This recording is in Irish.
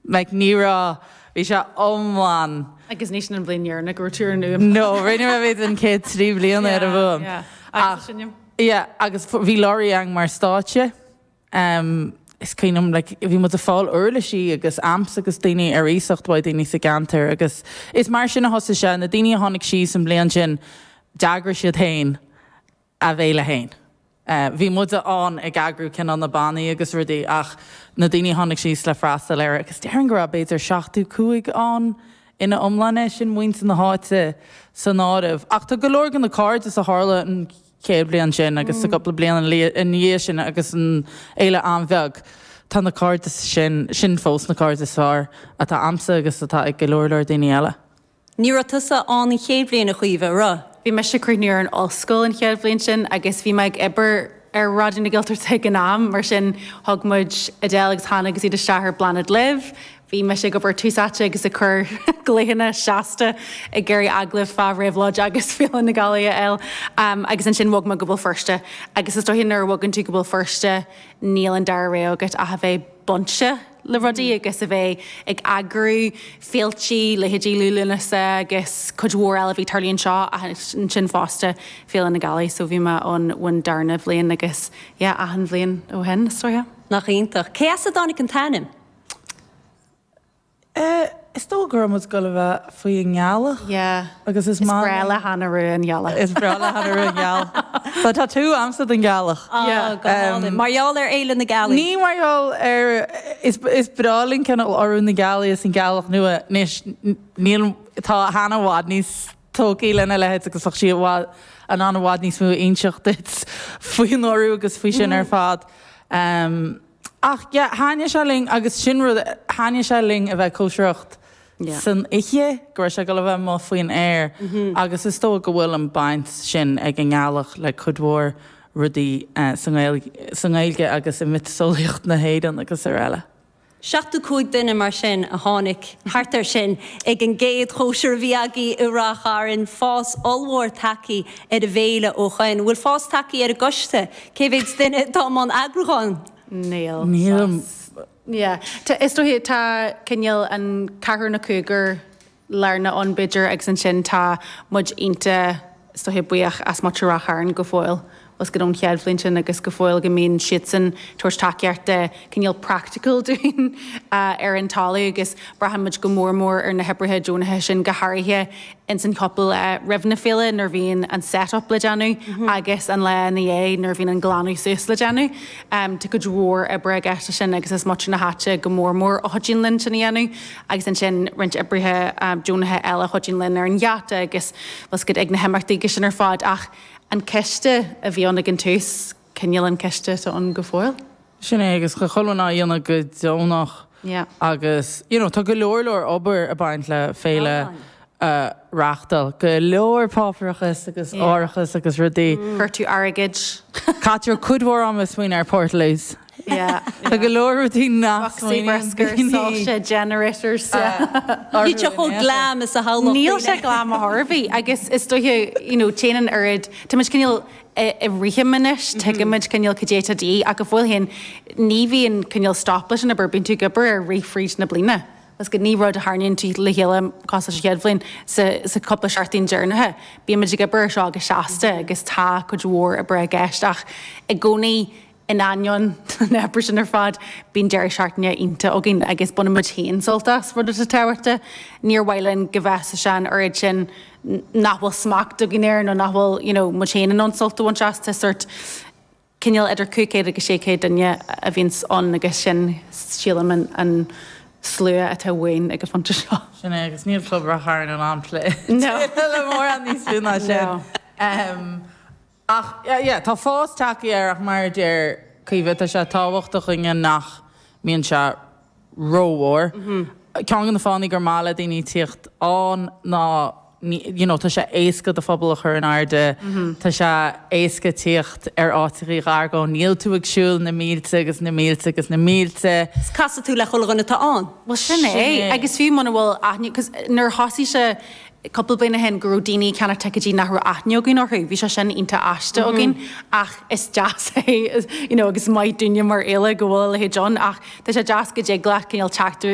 Like ní raibh, bhí sé iomlán. Agus ní sin an bhliain dheireanach go raibh tú ar an fhuaim. No, rinne mé b'fhéidir an chéad 3 bliana ar an bhfuaim. Yeah, yeah. Agus sin. Yeah, agus bhí lorry ann mar stáitse. Um, is cuimhin liom, like, bhí muid ag fáil uirlisí agus amps agus daoine ar iasacht uaidh daoine sa gceantar agus is mar sin a thosaigh sé, na daoine a tháinig síos an bhliain sin, d'eagraigh siad féin a bhféile féin. Bhí muide ann ag eagrú cineál na bannaí agus rudaí ach na daoine a tháinig síos le freastal air agus déarfainn go raibh b'fhéidir 75 ann ina iomláine, sin muintir na háite san áireamh. Ach tá go leor de na cairdeas a tharla an chéad bhliain sin agus sa gcúpla bliain ina dhiaidh sin agus an fhéile an-bheag, tá na cairdeas sin, sin fós na cairde is fearr atá a'msa agus atá ag go leor leor daoine eile. Ní raibh tusa ann an chéad bhliain, a Chaoimhe, raibh? Bhí mise ag críochnú ar an ollscoil an chéad bhliain sin agus bhí mé ag obair ar Raidió na Gaeltachta ag an am, mar sin thug muid Edel agus Hannah agus iad isteach ar Bláthnaid Libh. Bhí mise ag obair Tús Áite agus ag cur glaochanna seasta ag iarraidh agallaimh fá Réabhlóid agus Féile na Gealaí a fháil. Agus ansin bhog mé go Béal Feirste agus is dóiche nuair a bhogann tú go Béal Feirste níl an dara rogha agat ach a bheith bainte le rudaí agus a bheith ag eagrú féiltí, leithéidí Liú Lúnasa agus cuid mhór eile a bhí ag tarlú anseo ach ansin fosta Féile na Gealaí so bhí mé ann ón darna bhliain agus yeah achan bhliain ó shin is dóiche. Nach iontach. Cé as a dtáinig an t-ainm? Eh, is dóigh go raibh muid ag dul a bheith faoi an ngealach. Yeah. Agus is Is maith breá le Hannah Rua an ghealach. Is breá le Hannah Rua an ghealach. Tá tatú a'msa den ghealach. Ah, go hálainn. Mar gheall ar Fhéile na Gealaí? Ní mar gheall ar, is, is breá linn cineál urú na gealaí is an ghealach nua. Anois, níl, tá Hannah i bhfad níos tógthaí lena leithéid agus bheadh sí i bhfad, in ann i bhfad níos mó a inseacht duit faoin urú agus faoi sin ar fad. Ach yeah, thaitnigh sé linn agus sin rud, thaitnigh sé linn a bheith ag cóisireacht san oíche, go raibh sé ag dul a bheith amuigh faoin aer agus is dóigh go bhfuil an baint sin ag an ngealach le cuid mhór rudaí sa nGaeilge agus i miotaseolaíocht na hÉireann agus araile. 75 duine mar sin a tháinig, thart ar sin, ag an gcéad chóisir a bhí agaibh i Ráth Chairn. Fás ollmhór tagtha ar an bhféile ó shoin. Bhfuil fás tagtha ar an gcoiste? Cé mhéid duine atá i mbun eagrúcháin? Níl. Níl. Yeah. Tá, is dóiche, tá cineál an ceathrar nó cúigear lárnach ann b'fhéidir agus ansin tá muid iontach, is dóiche, buíoch as muintir Ráth Chairn go fóill agus go ón chéad bhliain sin agus go fóill go mbíonn siadsan tabhairt tacaíochta cineál praiticiúil dúinn ar an talamh agus braitheann muid go mór mór ar na hoibrithe deonacha sin go háirithe ins an chúpla lá roimh na féile nuair a bhíonn an set up le déanamh agus an lá ina dhiaidh nuair a bhíonn an glanadh suas le déanamh. Tá cuid mhór oibre i gceist leis sin agus is muintir na háite go mór mór a chuidíonn linn sin a dhéanamh agus ansin roinnt oibrithe deonacha eile a chuidíonn linn ar an gheata agus bhfuil 's agat ag na himeachtaí agus sin ar fad ach an coiste a bhí ann ag an tús, cineál an coiste atá ann go fóill. Sin é agus chuile dhuine á dhéanamh go deonach agus you know tá go leor leor obair ag baint le féile a reáchtáil, go leor páipéarachas agus árachas agus rudaí. Cuartú airgid. Caitear cuid mhór ama ag smaoineamh ar portaloos. Tá go leor rudaí nach Boscaí bruscair, soilse, generators. Níl sé chomh glam is a shamhlódh daoine. Níl sé glam ar chor ar bith agus is dóiche you know téann an oiread, tá muid cineál i rithim anois, tuigimid cineál cad é atá de dhíth ach go fóill féin ní bhíonn cineál stop leis an obair, bíonn tú ag obair air rith fríd na bliana. Is go ní rud a tharraingíonn tú le chéile cosúil leis an chéad bhliain sa sa cúpla seachtain deireanacha. Bímid ag obair ar seo go seasta agus tá cuid mhór oibre i gceist ach i gcónaí In ainneoin na hoibre sin ar fad, bíonn deireadh seachtaine iontach againn agus baineann muid féin sult as, rud atá tábhachtach. Níor mhaith linn go mbeadh sé an oiread sin nach bhfuil smacht againn air nó nach bhfuil you know muid féin in ann sult a bhaint as. Tá sórt cineál idir 500 agus 600 duine a bhíonns ann agus sin sílim an an slua atá uainn ag an phointe seo. Sin é agus níl Club Ráth Chairn in ann plé le mórán níos lú ná sin. No. Ach, yeah, tá fás tagtha air ach mar a deir Caoimhe, tá sé tábhachtach dhúinne nach mbíonn sé rómhór. Ceann de na fáthanna gur maith le daoine tíocht ann ná, you know, tá sé éasca do phuball a chur in airde, tá sé éasca tíocht ar áiteachaí ghar dó, níl tú ag siúl na mílte agus na mílte agus na mílte. 'S casfaidh tú le chuile dhuine atá ann. Bhuel, sin é. Agus fiú muna bhfuil aithne, 'cause nuair a thosaigh sé, cúpla bliain ó shin go raibh daoine ag ceannach ticéidí nach raibh aithne againn orthu. Bhí sé sin iontach aisteach againn ach is deas é you know agus maith dúinne mar fhéile go bhfuil a leithéid ann ach tá sé deas go dtig leat cineál teacht ar.